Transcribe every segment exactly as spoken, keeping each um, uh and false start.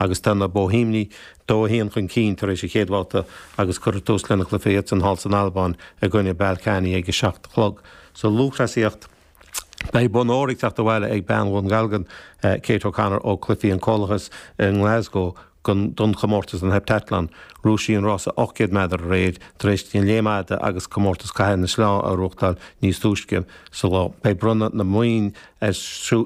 Agus tá na Boihéamaigh dó a haon chun cinn tar éis an chéad bhabhta agus cuirfear tús lena gcluiche iadsan thall san Albáin i gcoinne Ballkani ag a seacht a chlog. Sa lúthchleasaíocht, beidh bonn óir ag teacht abhaile ag bean Dhún Dealgan, Kate O'Connor ó Chluichí an Chomhlachais i nGlasgow don chomórtas an heptathlon. Ghnóthaigh sí an rása ocht gcéad méadar aréir tar éis di an léim fhada agus comórtas caitheamh na sleá a ghnóthachtáil níos túisce sa lá. Beidh bronnadh na mboinn ar siúl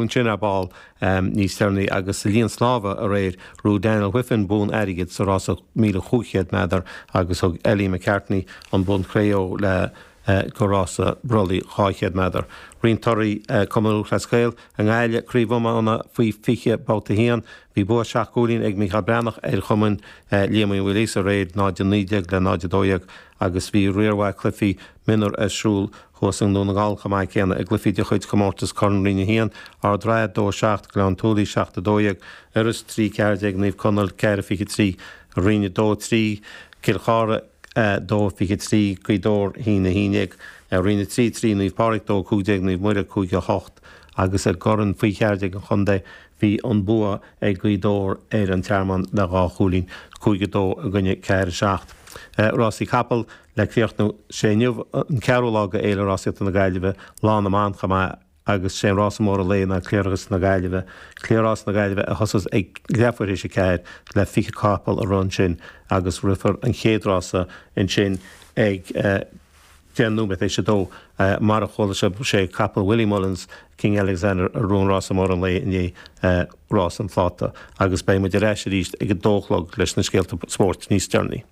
ansin ar ball níos deireanaí agus sa líon snámha aréir ghnóthaigh Daniel Wiffen bonn airgid sa rása míle chúig chéad méadar agus thug Ellie McCartney an bonn cré-umha léi go rása brollaigh dhá chéad méadar. Roinnt torthaí Cumann Lúthchleas Gael i nGaillimh, Craobh Iomána faoi fiche babhta a haon. Bhí bua seacht gcúilín ag Mícheál Breathnach ar chumann Liam Uí Mhaoilíosa aréir, náid a naoi déag le náid a dó dhéag, agus bhí riar mhaith cluichí mionúr ar siúl thuas i nDún na nGall chomh maith céanna i gcluichí de chuid chomórtas Corn Roinn a haon, Ard Ratha dó a seacht, Gleann tSúilí seacht a dó dhéag, Iorras trí ceathair déag, Naomh Conaill ceathair a fiche trí, Roinn a dó a trí, Cill Chartha dó fiche trí, Gaoth Dobhair a haon a haon déag, Roinn a trí trí, Naomh Pádraig dó cúig déag, Naomh Muire cúig a hocht agus i gCorn faoi cheathair déag an chontae bhí an bua ag Gaoth Dobhair ar an Tearmann le dhá chúilín, cúig a dó i gcoinne ceathair a seacht. Rásaí capall le críochnú, sé inniu an ceathrú lá de Fhéile Rásaíochta na Gaillimhe, Lá na mBan chomh maith, agus sé an rása mór an lae ná Cliathrás na Gaillimhe. Cliathrás na Gaillimhe a thosós ag leathuair théis a ceathair le fiche capall a rith ansin agus rithfear an chéad rása ansin ag deich nóiméad théis a dó. Mar a chuala sibh, sé capall Willie Mullins, King Alexander, a ghnóthaigh rása mór an lae inné, rás an phláta. Agus beidh muid ar ais arís ag a dó a chlog leis na scéalta spóirt níos deireanaí.